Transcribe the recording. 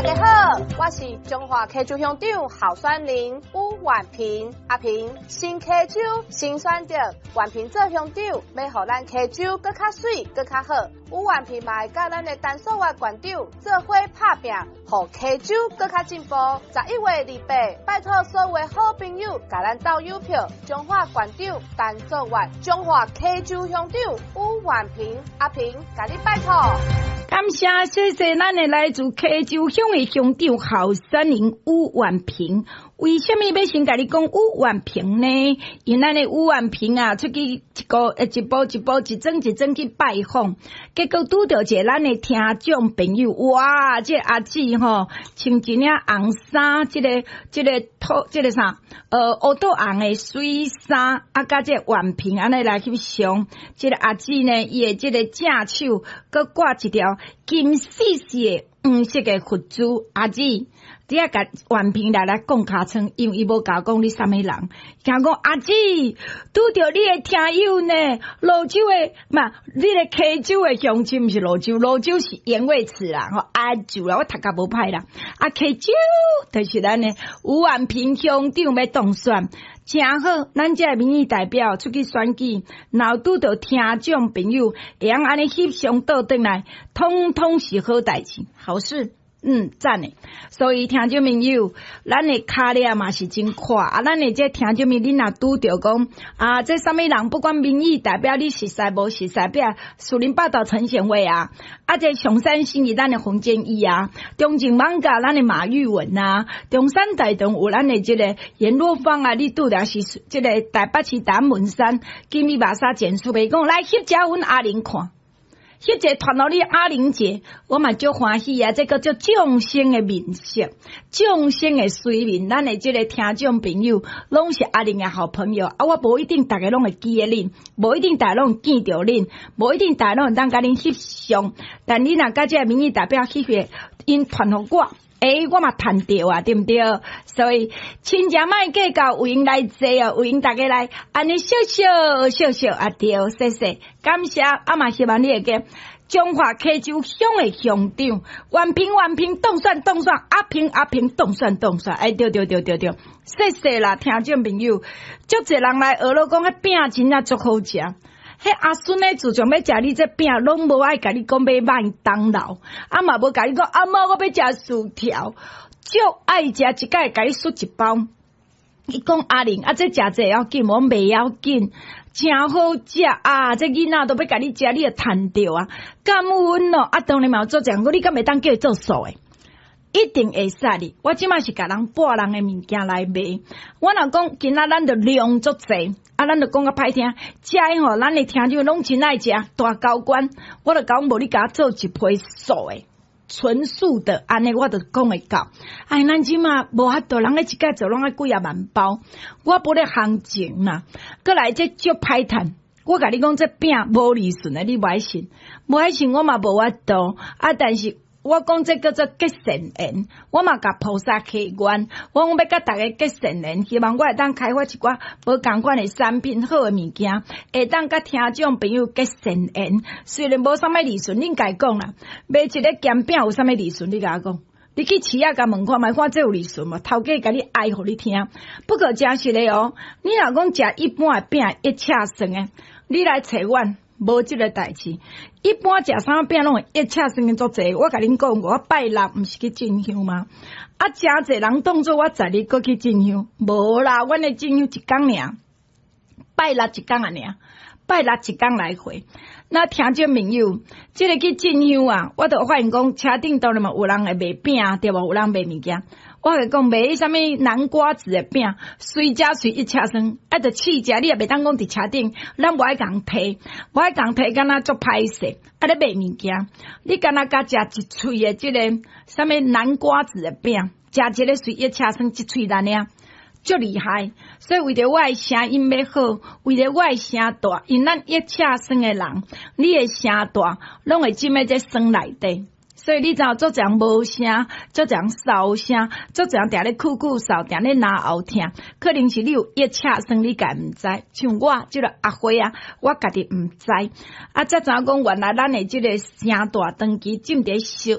家好，我是彰化溪州鄉長候選人吳婉萍。阿萍，新溪州新選擇，婉萍做鄉長，欲予咱溪州閣較媠，閣較好。吳婉萍嘛會佮咱的陳素月縣長做伙拍拚，予溪州閣較進步。11月28，拜託所有的好朋友，共咱鬥郵票，彰化縣長陳素月，彰化溪州鄉長吳婉萍，阿萍，共你拜託。感謝，謝謝咱的來自溪州鄉的鄉長候選人吳婉萍。為啥物欲先共你講吳婉萍呢？因咱的吳婉萍啊，出去一個一步一步一莊一莊去拜訪，結果拄著一个咱的聽眾朋友，哇！這個阿姊吼，穿一領紅衫，這个這个土這个啥？烏豆紅的水衫，啊，佮這個婉萍按呢來翕相。這个阿姊呢，伊的這个正手閣掛一條金絲絲的黃色的佛珠。阿姊，你愛共婉萍來講尻川，因為伊無共講你啥物人。聽講阿姊拄著你的聽友呢，蘆洲的嘛，你的溪州的鄉親，毋是蘆洲，蘆洲是鹽味詞啦，吼阿祖啦，我讀甲無歹啦。啊，溪州就是咱的吳婉萍鄉長欲當選，誠好，咱這个民意代表出去選舉，若拄著聽眾朋友會曉按呢翕相倒轉來，通通是好代誌，好事。讚的。所以聽眾朋友，咱的跤力嘛是真闊啊！咱的這聽眾朋友，恁若拄著講啊，這啥物人，不管民意代表你熟似無熟似，比如樹林報道陳賢偉啊，啊，這上山信義咱的洪建義啊，中正艋舺咱的馬玉文啊，中山大同有咱的這个顏若芳啊，你拄著是這个台北市大門山金米馬沙簡書袂講來翕一阮阿玲看。翕一个傳予你阿玲姐，我嘛足歡喜啊！這個叫眾生的面色，眾生的隨面，咱的這个聽眾朋友攏是阿玲的好朋友啊！我無一定逐个攏會記得恁，無一定逐个攏會見著恁，無一定逐个攏會當共恁翕相。但你若佮這个民意代表翕個，𪜶傳予我，欸，我嘛趁著啊，對毋對？所以親情莫計較，有閒來坐哦，有閒逐家來，按呢笑笑笑笑啊，對，謝謝，感謝，啊嘛希望你會記彰化溪州鄉的鄉長，婉萍婉萍當選當選，阿萍阿萍當選當選，哎，對對對對對，謝謝啦，聽眾朋友，足濟人來學囉講，彼餅真正足好食。彼阿孫呢，自從欲食你這餅，攏無愛共你講欲麥當勞，啊嘛無共你講阿嬤我欲食薯條，足愛食一擺共你媠一包。伊講阿玲啊，這食這要緊，我袂要緊，誠好食啊！這囡仔都欲共你食，你就趁著啊！感恩哦，啊當然嘛有做這樣，你敢會當叫伊做素的？一定會使哩。我這馬是共人跋人的物件來賣。我若講今仔咱就量足濟，啊，咱就講較歹聽，食的吼，咱的聽眾攏真愛食大高官，我就講無你共我做一批素的。純素的，按呢我就講會到。哎，咱這馬無法度，人咧一擺做攏愛幾仔萬包，我無咧行情啦。閣來這足歹趁，我共你講這餅無利潤的，你無愛信，無愛信我嘛無法度。啊，但是我講這叫做結善緣，我嘛共菩薩許願，我講欲佮逐家結善緣，希望我會當開發一寡無仝款的產品，好的物件，會當佮聽眾朋友結善緣。雖然無啥物利潤，恁家講啦，賣一个鹹餅有啥物利潤？你共我講，你去市仔共問看覓，看這有利潤無？頭家共你哀予你聽。不過誠實的哦，你若講食一般的餅一尺算的，你來揣阮。無這个代誌，一般食啥餅攏會一尺算的足濟。我共恁講，我拜六毋是去進香嗎？啊，誠濟人當做我十日閣去進香，無啦，阮的進香一工爾，拜六一工爾，拜六一工來回。那聽眾朋友，這个去進香啊，我就發現講車頂當然嘛有人會賣餅，對無？有人賣物件。我共講賣啥物南瓜子的餅，隨食隨一尺算，啊，著試食，你也袂當講佇車頂，咱無愛共提，無愛共提，敢若足歹勢，啊咧賣物件，你敢若共食一喙的這个啥物南瓜子的餅，食一个隨一尺算，一喙爾爾，足厲害。所以為著我的聲音欲好，為著我的聲帶，因咱一尺算的人，你的聲帶攏會浸佇這酸內底。所以你知影足濟人無聲，足濟人嗽聲，足濟人定咧咳咳嗽，定咧咽喉疼，可能是你有腋車酸，你家毋知。像我這个阿花啊，我家己毋知。啊，才知影講原來咱的這个聲帶長期浸佇燒。